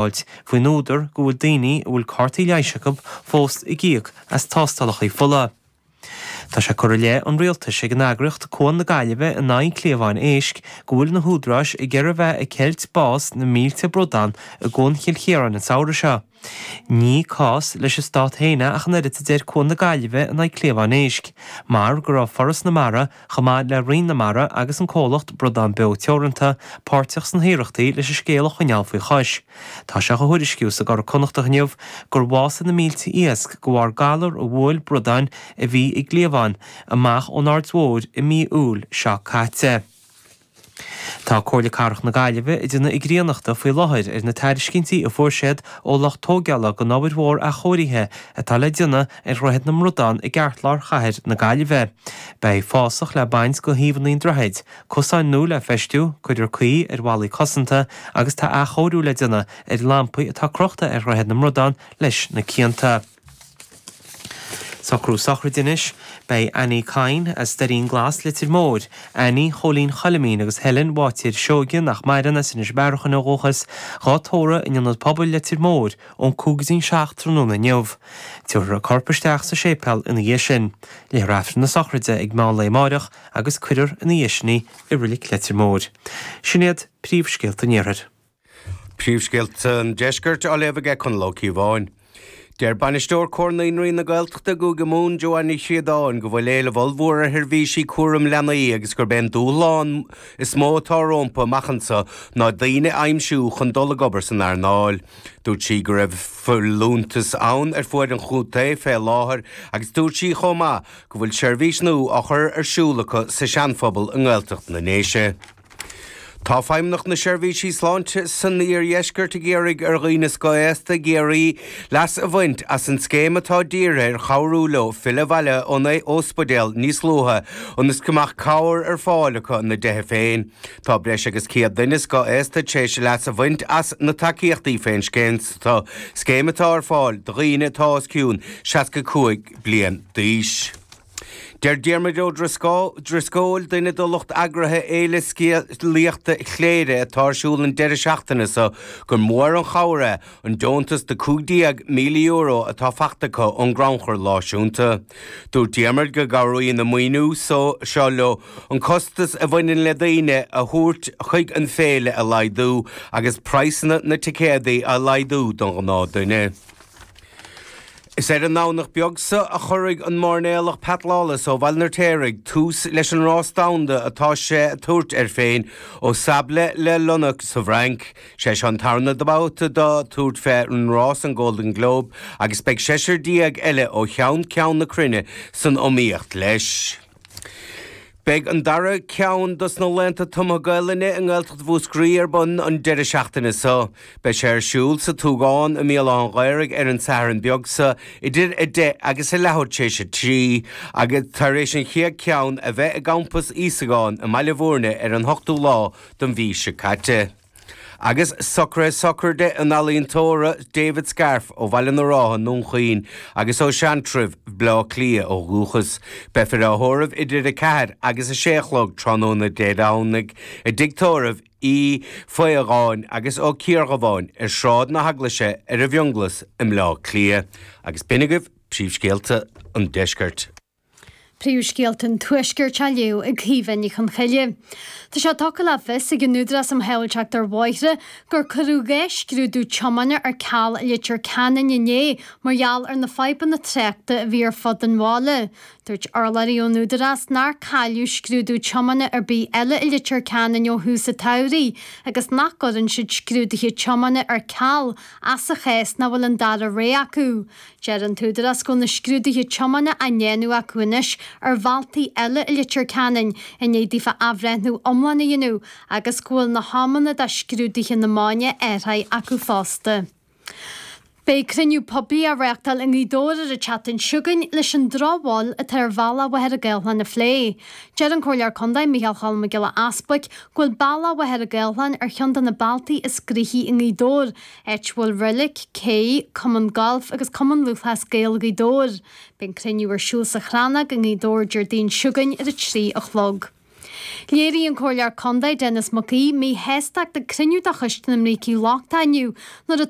Faoin údar go bhfuil daoine a bhfuil cártaí leighis acu fós ag íoc as tástálacha fola. Tá sé curtha i leith an rialtais ag an eagraíocht Cuan na Gaillimhe in aghaidh an chliabháin éisc go bhfuil na húdaráis ag iarraidh a bheith ag ceilt bás na mílte bradán i gCuan Chill Chiaráin an samhradh seo. Ní cás leis an stát féin é ach an oiread a deir Cuan na Gaillimhe in aghaidh cliabháin éisc, mar go raibh Foras na Mara chomh maith le Roinn na Mara agus an comhlacht Bradán Beo Teoranta, páirteach sna hiarrachtaí leis an scéal a choinneáil faoi chois. Tá sé á thuairisciú sa gCuradh Connachtach inniu gur bhásaigh na mílte iasc de bharr galar a bhuail bradáin a bhí i gcliabhán amach ón Aird Mhóir i mí Iúil seo caite. Tá Comhairle Cathrach na Gaillimhe ag déanamh a gcríonnachta faoi láthair ar na tairiscintí a fuair siad ó lucht tógála don obair mhór athchóirithe atá le déanamh ar Dhroichead na mBradán i gceartlár chathair na Gaillimhe. Beidh fásach le baint de thaobhanna an droichid, cosáin nua le feistiú, cuirfear caoi ar bhallaí cosanta agus tá athchóiriú le déanamh ar lampaí atá crochta ar Dhroichead na mBradán leis na cianta. Socrú sochraide anois. Beidh Annie Kyne as Doirín Glas, Leitir Móir, Annie Chóilín Choilimín agus Helen Bháitéir Seoige, nach maireann, as Inis Bearachain ó dhúchas, dhá tórramh in Ionad Pobail Leitir Móir ón 6:55 tráthnóna inniu. Tabharfar a corp isteach sa séipéal ina dhiaidh sin. Léifear Aifreann na sochraide ag meán lae amáireach agus cuirfear ina dhiaidh sin í i Reilig Leitir Móir. Sin iad príomhscéalta an Iarthair. Príomhscéalta an Deiscirt á léamh aige Conall Ó Cíobháin. Deir Bainisteoir Comhar Naíonraí na Gaeltachta i gCúige Mumhan, Joanne Ní Chríodáin, go bhfuil éileamh ollmhór ar sheirbhísí cúraim leanaí agus gurb é an dúshlán is mó atá rompu amach anseo ná daoine a aimsiú chun dul ag obair san earnáil. Dúirt sí go raibh folúntas ann ar fuaid an chontae fé láthair agus dúirt sí chomh maith go bhfuil seirbhís nua á chur ar siúl acu sa Seanphobal i nGaeltacht na nDéise. Tá Feidhmeannacht na Seirbhísí Sláinte san Iardheisceart ag iarraidh ar dhaoine scothaosta i gCiarraí leas a bhaint as an scéim atá dírithe ar chabhrú leo filleadh abhaile ón ospidéal níos luaithe ionas go mbeadh cabhair ar fáil acu ina dtithe féin. Tá breis agus 100 duine scothaosta tar éis leas a bhaint as na tacaíochtaí fén scéim scéim atá ar fáil do dhaoine atá os cionn 65 bliain d'aois. Deir Diarmuid Ó Drisceoil, duine de lucht eagraithe Fhéile Scéalaíochta Chléire atá ar siúl an deireadh seachtaine seo, gur mór an chabhair é an deontas de €15,000 atá fachta acu ón gCrannchur Náisiúnta. Dúirt Diarmuid go gcabhraíonn an maoiniú seo leo an costas a bhaineann le daoine a thabhairt chuig an féile a laghdú agus praghsanna na ticéadaí a laghdú don ghnáthduine. Is ar an nDomhnach beag seo a chuirfidh an mairnéalach Pat Lawless ó Bhaile an Fheirtéaraigh tús leis an rás domhanda atá sé ag tabhairt air féin ó Sablé-les-Lenox sa bhFrainc. Sé seo an tarna babhta dó tabhairt fé an rás an Golden Globe agus beidh seisear eile ó cheann ceann na cruinne san iomaíocht leis. Beidh an dara ceann dos na Laethanta Tumtha Gaelainne i nGaeltacht Mhúscraí ar bun an deireadh seachtaine seo. Beidh sé ar siúl sa tSúgán i mBéal Átha'n Ghaorthaidh ar an Satharn beag seo idir 10 agus a leathuair tar éis 3 agus tar éis an chéad ceann a bheith i gCampas Íosagáin i mBaile Bhúirne ar an ochtú lá den mhí seo caite. Agus socruithe sochraide an ealaíontóra David Scarfe ó Bhaile na Rátha i nDún Chaoin agus ó Seantrabh, Bleá Cliath ó dhúchas. Beifear á thórramh idir 4 agus 6 a chlog tráthnóna Dé Domhnaigh i dtigh tórraimh Uí Faodhagáin agus Ó Ciardhubháin ar Shráid na hEaglaise ar an bhFionnghlas i mBleá Cliath. Agus b'in agaibh príomhscéalta an deiscirt. Príomhscéalta an Tuaiscirt á léamh ag Caoimhe Ní Chonchoille. Tá sé tugtha le fios ag an Údarás um Shábháilteacht ar Bhóithre gur cuireadh 2 scrúdú tiomána ar ceal i Leitir Ceanainn inné mar gheall ar na fadhbanna tráchta a bhí ar fud an bhaile. Dúirt urlabhraí ón Údarás nár cailleadh scrúdú tiomána ar bith eile i Leitir Ceanainn ó thús an tsamhraidh agus nach gcuireann siad scrúduithe tiomána ar ceal ach sa chás nach bhfuil an dara rogha acu. Deir an t-údarás go bhfuil na scrúduithe tiomána á ndéanamh acu anois ar bhealtaí eile i Leitir Ceanainn i ndiaidh daofa athbhreithniú iomlán a dhéanamh agus go bhfuil na hamanna do scrúduithe na máine athraithe acu fosta. Beidh cruinniú poiblí á reáchtáil i nGaoth Dobhair ar an tseachtain seo chugainn leis an drochbhail atá ar bhealach Mhachaire Gathlán a phlé. Deir an Comhairleoir Contae Micheál Cholm Mac Giolla Easbuic go bhfuil bealach Mhachaire Gathlán ar cheann de na bealtaí is gnoithí i nGaoth Dobhair áit a bhfuil reilig, cé, cumann gailf agus Cumann Lúthchleas Gael Ghaoth Dobhair. Beidh an cruinniú ar siúl sa Chrannóg i nGaoth Dobhair Déardaoin seo chugainn ar a 3 a chlog. Léirigh an Comhairleoir Contae Denis Mac Aoidh míshástacht ag cruinniú de Choiste na mBrící Lochtacha inniu nuair a.